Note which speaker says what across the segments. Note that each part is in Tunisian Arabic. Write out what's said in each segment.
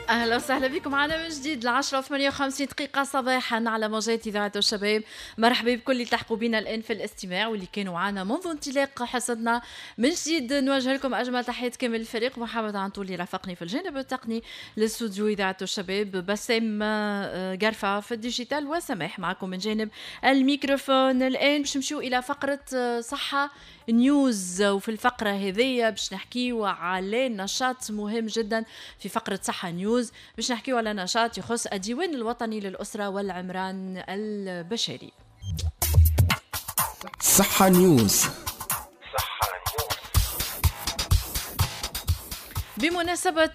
Speaker 1: اهلا وسهلا بكم معنا من جديد 10:58 صباحا على موجات اذاعة الشباب. مرحبا بكل اللي التحقوا بنا الان في الاستماع واللي كانوا معنا منذ انطلاق حصتنا. من جديد نوجه لكم اجمل تحيات كامل الفريق، محمد عنطول اللي رافقني في الجانب التقني للاستوديو اذاعة الشباب، بسام قرفه في ال digital، وسماح معكم من جانب الميكروفون. الان باش نمشيو الى فقره صحة نيوز، وفي الفقرة هذية باش نحكيو على نشاط مهم جدا في فقره صحة نيوز. باش نحكيو على نشاط يخص الديوان الوطني للأسرة والعمران البشري.
Speaker 2: صحة نيوز.
Speaker 1: بمناسبة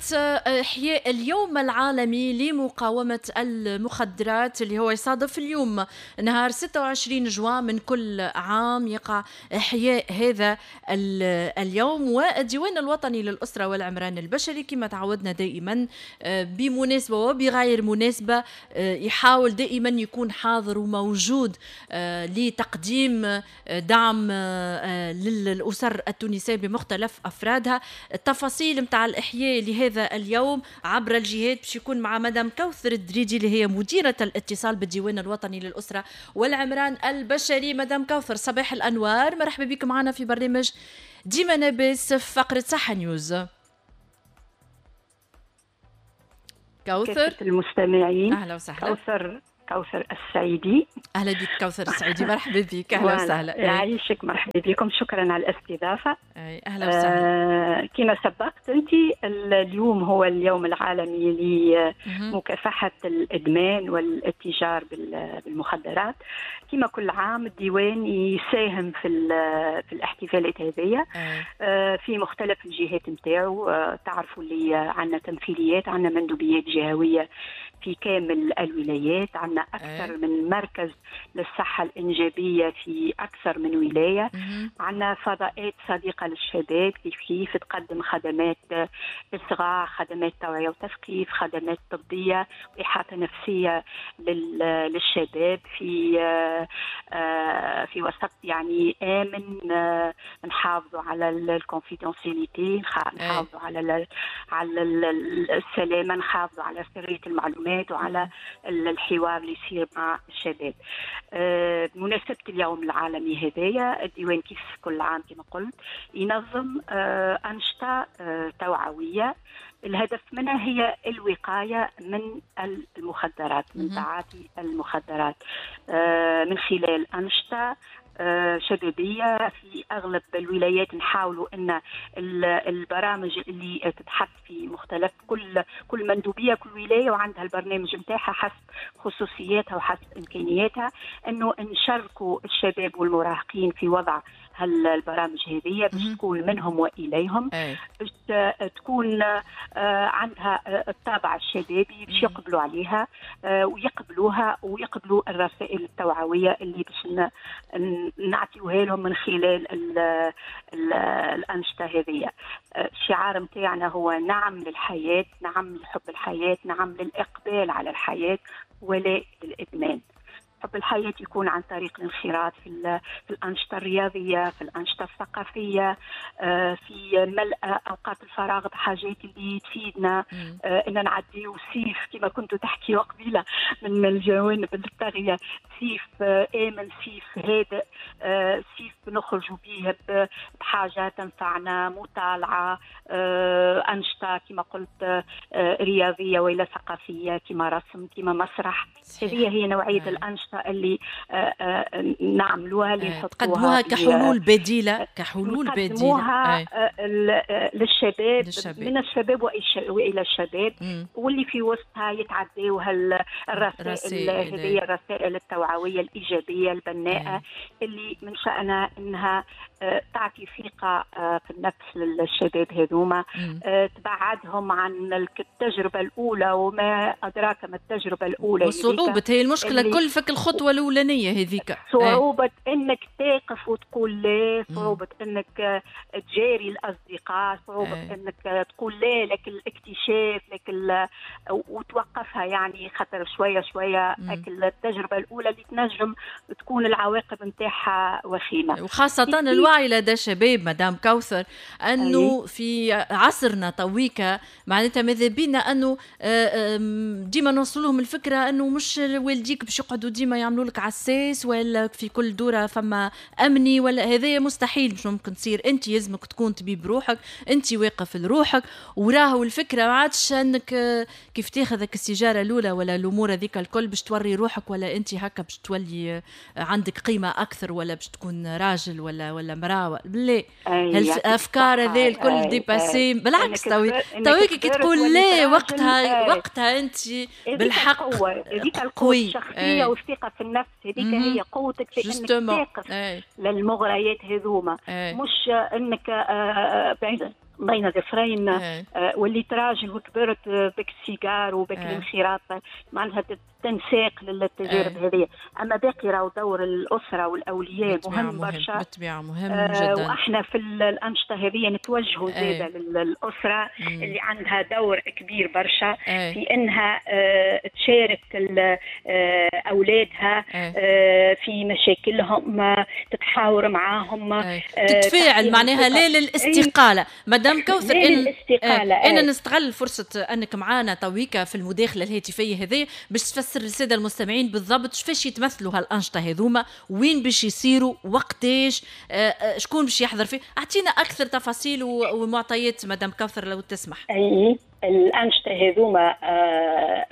Speaker 1: إحياء اليوم العالمي لمقاومة المخدرات اللي هو يصادف اليوم نهار 26 جوان من كل عام، يقع إحياء هذا اليوم. والديوان الوطني للأسرة والعمران البشري كما تعودنا دائما بمناسبة وبغير مناسبة يحاول دائما يكون حاضر وموجود لتقديم دعم للأسر التونسية بمختلف أفرادها. التفاصيل متاع الإحياء لهذا اليوم عبر الجهات باش يكون مع مدام كوثر الدريدي اللي هي مديرة الاتصال بالديوان الوطني للأسرة والعمران البشري. مدام كوثر، صباح الأنوار، مرحبا بك معنا في برنامج ديما نابس في فقرة صحة نيوز. كوثر
Speaker 3: المستمعين،
Speaker 1: أهلا وسهلا.
Speaker 3: كوثر السعيدي.
Speaker 1: اهلا بك كوثر السعيدي، مرحبا بك. اهلا وسهلا.
Speaker 3: يعيشك، مرحبا بكم، شكرا على الاستضافة.
Speaker 1: اهلا وسهلا.
Speaker 3: كما سبقت انت، اليوم هو اليوم العالمي لمكافحة الادمان والاتجار بالمخدرات. كما كل عام الديوان يساهم في الاحتفالات هذه في مختلف الجهات نتاعو. تعرفوا اللي عندنا تمثيليات، عندنا مندوبيات جهويه في كامل الولايات، عندنا أكثر من مركز للصحة الإنجابية في أكثر من ولاية، عندنا فضاءات صديقة للشباب كيف تقدم خدمات إصغاء، خدمات توعية وتثقيف، خدمات طبية وإحاطة نفسية للشباب في وسط يعني آمن. نحافظوا على ال confidentialité، نحافظوا على السلامة، نحافظوا على سرية المعلومات وعلى الحوار اللي يصير مع الشباب. بمناسبة اليوم العالمي هذايا، الديوان كيف كل عام كما قلت ينظم أنشطة توعوية الهدف منها هي الوقاية من المخدرات، من تعاطي المخدرات، من خلال أنشطة شبابية في أغلب الولايات. نحاولوا أن البرامج اللي تتحط في مختلف كل مندوبية، كل ولاية وعندها البرنامج متاعها حسب خصوصياتها وحسب إمكانياتها، أنه نشاركوا الشباب والمراهقين في وضع هالبرامج هذه باش تكون منهم وإليهم، باش تكون عندها الطابع الشبابي باش يقبلوا عليها ويقبلوها ويقبلوا الرسائل التوعوية اللي باش نعطيوها لهم من خلال الأنشطة هذه. الشعار متاعنا هو نعم للحياة، نعم لحب الحياة، نعم للإقبال على الحياة ولا للإدمان. حب الحياة يكون عن طريق الانخراط في الأنشطة الرياضية، في الأنشطة الثقافية، في ملء أوقات الفراغ بحاجات اللي تفيدنا، إن نعديو سيف كما كنتوا تحكيوا قبيلة من الجوانب الطاغية، سيف آمن، سيف هادئ، سيف نخرجوا به بحاجة تنفعنا، مطالعة، أنشطة كما قلت رياضية وإلى ثقافية كما رسم كما مسرح. هذه هي نوعية الأنشطة اللي نعملوها، اللي
Speaker 1: تقدموها كحلول بديلة، كحلول بديلة
Speaker 3: للشباب، من الشباب وإلى الشباب، واللي في وسطها يتعداو الرسائل هذه، الرسائل التوعوية الإيجابية البناءة اللي من شأنها أنها تعطي ثقة في النفس للشباب هذوما، تبعدهم عن التجربة الأولى وما أدراك ما التجربة الأولى.
Speaker 1: وصعوبة هي المشكلة كل فك الخطوة الأولانية هذيك،
Speaker 3: صعوبة أنك تقف وتقول لا، صعوبة أنك تجاري الأصدقاء، صعوبة أنك تقول لا لك الاكتشاف لك وتوقف يعرفها، يعني خاطر شوية شوية التجربة الاولى اللي تنجم تكون العواقب نتاعها وخيمه.
Speaker 1: وخاصة الوعي لدى الشباب مدام كوثر، انه في عصرنا تويكا معناتها ماذا بينا انه ديما نوصل لهم الفكرة انه مش والديك باش يقعدوا ديما يعملوا لك عساس ولا في كل دوره فما امني ولا هذايا، مستحيل مش ممكن تصير. انت يلزمك تكون طبيب روحك، انت واقف لروحك. وراهو الفكرة ما عادش انك كيف تاخذك السيجارة الاولى ولا الامور هذيك الكل باش توري روحك، ولا انت هكا باش تولي عندك قيمة اكثر، ولا باش تكون راجل ولا مراة. لا، الافكار هذه الكل dépassées. بالعكس، تويك كي تقول لا وقتها وقتها انت بالحق.
Speaker 3: هذيك القوة الشخصية والثقة في النفس، هذيك هي قوتك في انك تقف للمغريات هذوما، مش انك بين ظفرين وليت راجل وكبرت بك السيجار وبك الانخراط، معناتها تنساق للتجارب هذه. اما باقي راهو دور الاسرة والاولياء مهم برشا.
Speaker 1: بالطبيعه، مهم جدا.
Speaker 3: واحنا في الانشطة هذه نتوجهوا زاده للاسرة اللي عندها دور كبير برشا في انها تشارك اولادها في مشاكلهم، تتحاور معاهم،
Speaker 1: تتفاعل معناها. لا للاستقاله مدام كوثر.
Speaker 3: ان
Speaker 1: انا نستغل فرصة انك معانا تويكا في المداخلة الهاتفية هذه باش تفسر للسادة المستمعين بالضبط كيفاش يتمثلوا هالانشطه هذوما، وين باش يصيروا، وقتاش، شكون باش يحضر فيه. اعطينا اكثر تفاصيل ومعطيات مدام كوثر لو تسمح.
Speaker 3: اي، الانشطة هذوما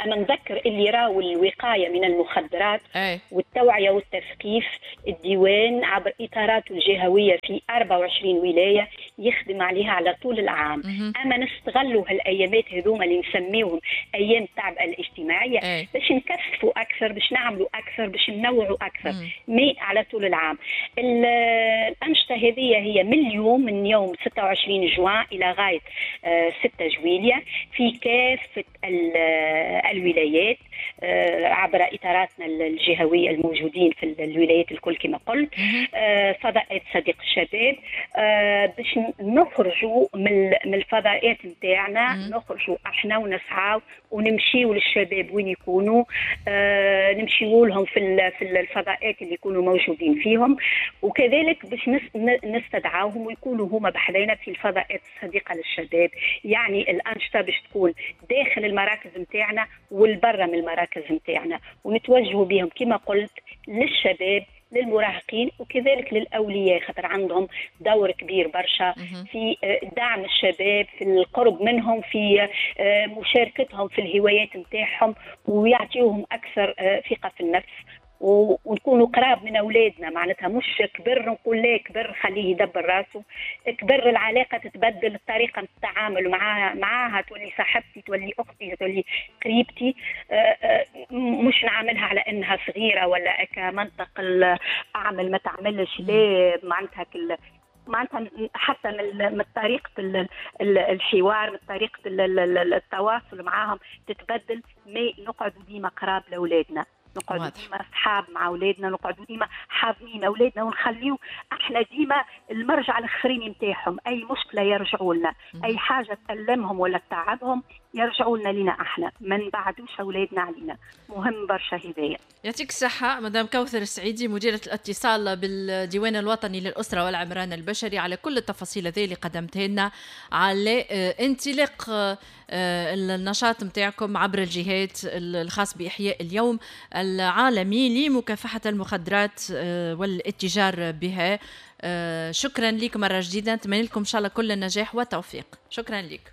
Speaker 3: انا نذكر اللي راو الوقاية من المخدرات والتوعية والتثقيف، الديوان عبر اطاراته الجهوية في 24 ولاية يخدم عليها على طول العام. اما نستغلوا هالايامات هذوما اللي نسميوهم ايام التعبئه الاجتماعية باش نكثفوا اكثر، باش نعملوا اكثر، باش ننوعوا اكثر، mais على طول العام. الانشطة هذه هي من اليوم، من يوم 26 جوان الى غاية 6 جويليا في كافة الولايات عبر إطاراتنا الجهوية الموجودين في الولايات الكل كما قلت، فضاءات صديق الشباب، باش نخرجوا من الفضاءات نتاعنا، نخرجوا احنا ونسعاو ونمشيو للشباب وين يكونوا، نمشيو لهم في الفضاءات اللي يكونوا موجودين فيهم، وكذلك باش نستدعاهم ويكونوا هما بحذينا في الفضاءات الصديقة للشباب. يعني الأنشطة باش تكون داخل المراكز نتاعنا والبرة من المراكز نتاعنا، ونتوجهوا بهم كما قلت للشباب، للمراهقين، وكذلك للأولياء، خاطر عندهم دور كبير برشا في دعم الشباب، في القرب منهم، في مشاركتهم في الهوايات نتاعهم، ويعطيوهم أكثر ثقة في النفس، ونكونوا قراب من اولادنا. معناتها مش كبر نقول لا كبر خليه يدبر راسه، كبر العلاقة تتبدل، الطريقة التعامل معاها تولي صاحبتي، تولي اختي، تولي قريبتي، مش نعاملها على انها صغيرة ولا كمنطق اعمل ما تعملش. لا، معناتها معناتها حتى من طريقه الحوار، من طريقه التواصل معاهم تتبدل، mais نقعدوا ديما قراب لاولادنا، نقعدوا ديما اصحاب مع اولادنا، نقعدوا ديما حاضنين اولادنا، ونخليو احنا ديما المرجع الاخرين نتاعهم. اي مشكلة يرجعوا لنا، اي حاجة تألمهم ولا تتعبهم يرجعوا لنا لينا احنا، ما نبعدوش اولادنا علينا، مهم برشا هدايا.
Speaker 1: يعطيك الصحة مدام كوثر السعيدي، مديرة الاتصال بالديوان الوطني للأسرة والعمران البشري، على كل التفاصيل هذه اللي قدمتها لنا على انطلاق النشاط نتاعكم عبر الجهات الخاص بإحياء اليوم العالمي لمكافحة المخدرات والاتجار بها. شكرا لك مرة جديدة، نتمنى لكم إن شاء الله كل النجاح والتوفيق. شكرا لك.